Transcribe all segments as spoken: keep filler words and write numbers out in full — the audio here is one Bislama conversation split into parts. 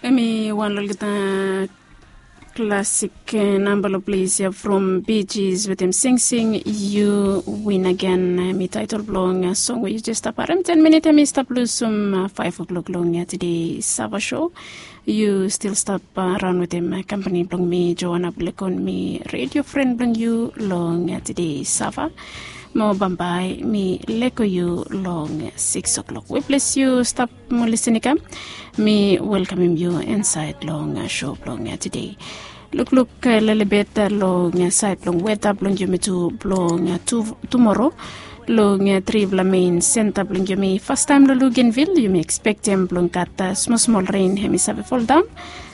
Em i wan long olgeta klasik namba long ples ya from Bee Gees wetem Sing Sing, You Win Again. Em i taetol blong song we yu jes stap harem. Ten minit em i stap lusum faef o'klok long tede Sava show. Yu stil stap raon wetem kampani blong mi, Joana Bulekon, mi redio fren blong yu long tede Sava. Mo bambae mi leko yu long sikis o'klok. We ples yu stap mo lisin i kam, mi welkamem yu insaed long sho blong tede. Lukluk lelebet long saed blong weta blong yumi tu blong tumoro. Long tripela mein senta blong yumi, fastaem long Lugenvil yumi ekspektem blong gat smosmol ren hem i save foldaon.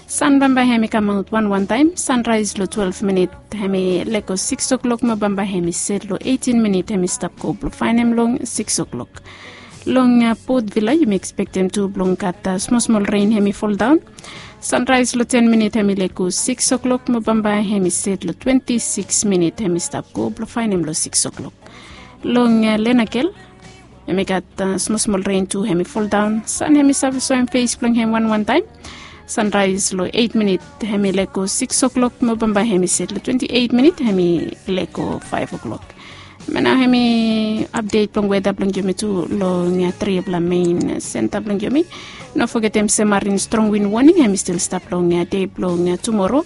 San bambae hem i kamaot wanwan taem, sanraes long twelve minit hem i leko sikis o'klok, mo bambae hem i set long eitin minit hem i stap go blong faenem long sikis o'klok. Long Port Vila yumi ekspektem tu blong gat smosmol ren hem i foldaon. Sanraes long ten minit hem i leko sikis o'klok, mo bambae hem i set long twenti sikis minit hem i stap go blong faenem long sikis o'klok. Long Lenakel hem i gat smosmol ren tu hem i foldaon. San hem i save soem fes blong hem wanwan taem. Sanraes long eit minit hem i leko sikis o'klok, mo bambae hem i set long twenti eit minit hem i leko faef o'klok. Mo nao hem i apdet blong weta blong yumi tu long tripela mein senta blong yumi. No fogetem se marin strong win woning hem i stil stap long dei blong tumoro.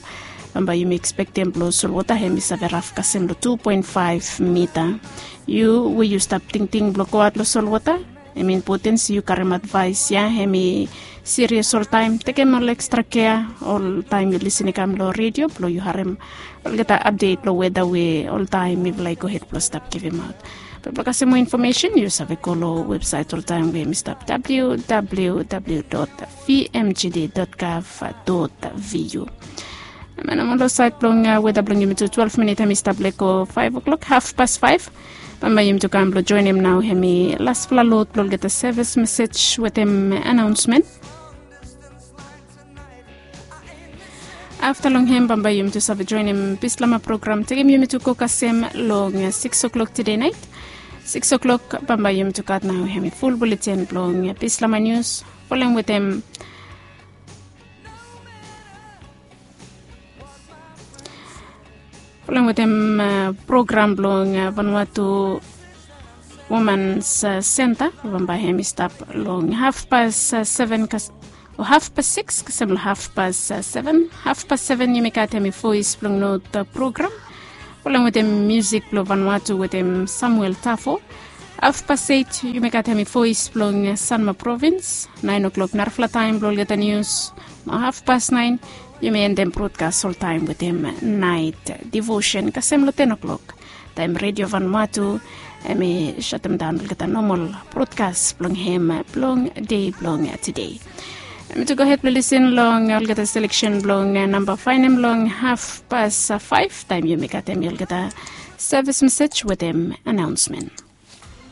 Bambae yumi ekspektem blong solwota hem i save raf kasem long tu poen faef mita. Yu we yu stap tingting blong goaot long solwota, hem i impoten se yu karem advaes ya hem i sirias oltaem. Tekem ol ekstra kea oltaem yu lisin i kam long redio blong yu harem olgeta apdet blong weta we oltaem mifala i gohed blong stap givimaot. Be blong kasem moa infomesen yu save go long websaet oltaem we hem i stap www dot vmgd dot gov dot vu. Em ya nao long saed blong weta blong yumi tu twelve minit hem i stap leko faef o'klok, hafpas faef. Bambae yumi tu kam blong joenem nao hem i laspela lod blong olgeta sevis mesej wetem anaonsmen. Afta long hem bambae yumi tu save joenem Bislama program tekem yumi tu go kasem long sikis o'klok tede naet. Sikis o'klok bambae yumi tu gat nao hem i ful buleten blong Bislama nius. Folem wetem Folem wetem program blong Vanuatu Womans Senta we bambae hem i stap long hafpas seven o hafpas sikis kasem long hafpas seven. Hafpas seven yumi gat hem i Voes blong Not program. Folem wetem miusik blong Vanuatu wetem Samuel Tafo. Hafpas eit yumi gat hem i Voes blong Sanma provins. Naen o'klok narafala taem blong olgeta nius. Mo hafpas naen yumi endem brodkas oltaem wetem naet divosen kasem long ten o'klok. Taem redio Vanuatu hem i sotemdaon olgeta nomol brodkas blong hem blong dei blong tede. Hem i tu gohed blong lisin long olgeta seleksen blong namba faenem long hafpas faef taem yumi gat hem i olgeta sevis mesej wetem anaonsmen.